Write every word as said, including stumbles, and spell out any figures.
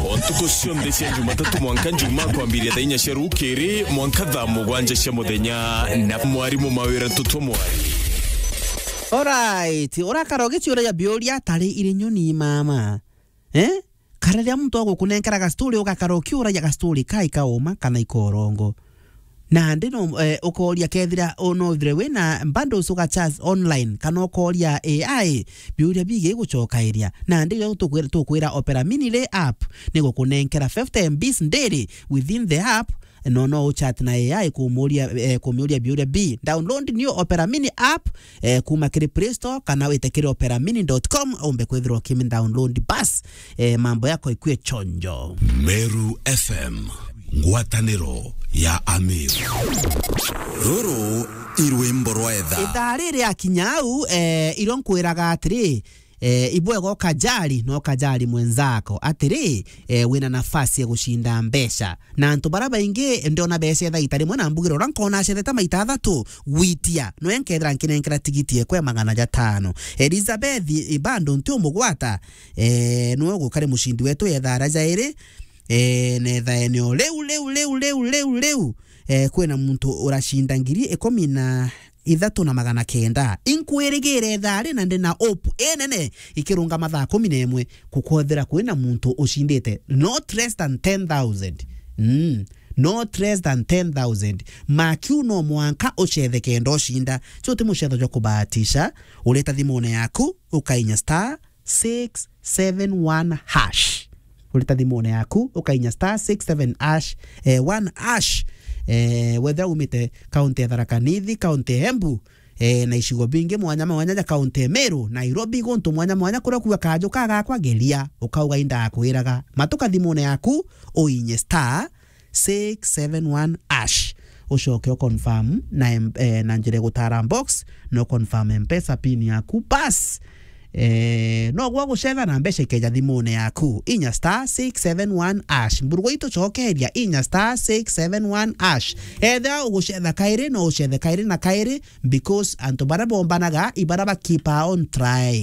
O ntuku cionthe cia Jumatatu mwanka Njumaa, kwambiria thaa inya cia rukiri mwanka thaa mugwanja cia muthenya, na mwarimu Mawira Ntutu Mwari. Alright, urakara ugiciuragia biuria tari iri nyoni mama. Eh? Kana riria muntu agukunenkera gastori, ugakara ukiuragia gastori kai kauma kana ikorongo. Nandi no, eh, ukoria kethira, o, no thire wina bundles uga charge online, kana ukoria A I biuria bigi gucokairia. Nandi riria tukwira, tukwira Opera Mini ri app, ni gukunenkera fifty M Bs daily within the app, no, no uchat na A I kumuria, eh, kumiuria biuria bi. Download new Opera Mini app, eh, kuma kiri Play Store, kana wite kiri opera mini dot com, umbe kwithirwa ukimi download bas, eh, mambo yako ikue chonjo. Meru F M, ngwataniro ya Ameru. Ruru i rwimbo rwa etha. Ithaa riri akinya au, eh, iro nkwiraga atiri, eh, ibwega ukajali, na ukajali mwenzako. Atiri, eh, wina nafasi ya gushinda mbeca. Na antu bara baingi ndiona beca etha ita rimwe, na mbugire ura nkona acethete maita athatu gwitia, noe nkethira nkinenkera tigiti ekwe magana jatano. Elizabeth Ibando nti umugwata, eh, niwe ugukari mushindi wetu etha ara jairi, eh, na etha eneo riu, riu, riu, riu, riu, riu, eh, kwina muntu urashinda ngiri ikumi na ithatu na magana kenda. Inkwirigire etha ari na ndina hope inene ikirungama thaa kumi na imwe, kukwethira kwina muntu ushindite not less than ten thousand. Mm. Not less than ten thousand. Makiu no mwanka ucethe kenda ushinda. So ti mucetho jwa kubahatisha. Urita thimune yaku, ukainya star six seven one hash. Urita thimune yaku, ukainya star six seven hash, eh, one hash. Eh, wethira umite kaunti ya Tharaka Nithi, kaunti ya Embu, eh, na icigo bingi mwanya mwanya ja kaunti ya Meru, Nairobi, guntu mwanya mwanya kuria kuga kaju kagakwa geria, ukauga indakwiraga. Matuka thimune yaku, uinye star six seven one hash. Ucoke u confirm na em-, eh, na njira ya gutara box, no confirm M-Pesa pin yaku, bas. Eh, no gwa gucetha na mbeca ikeja thimune yaku. Inya star six seven one hash. Mburugu itu cokeria, inya star six seven one hash. Ethira ugucetha kairi, no ucethe kairi na kairi, because antu bara bombanaga, ibara ba keep on try.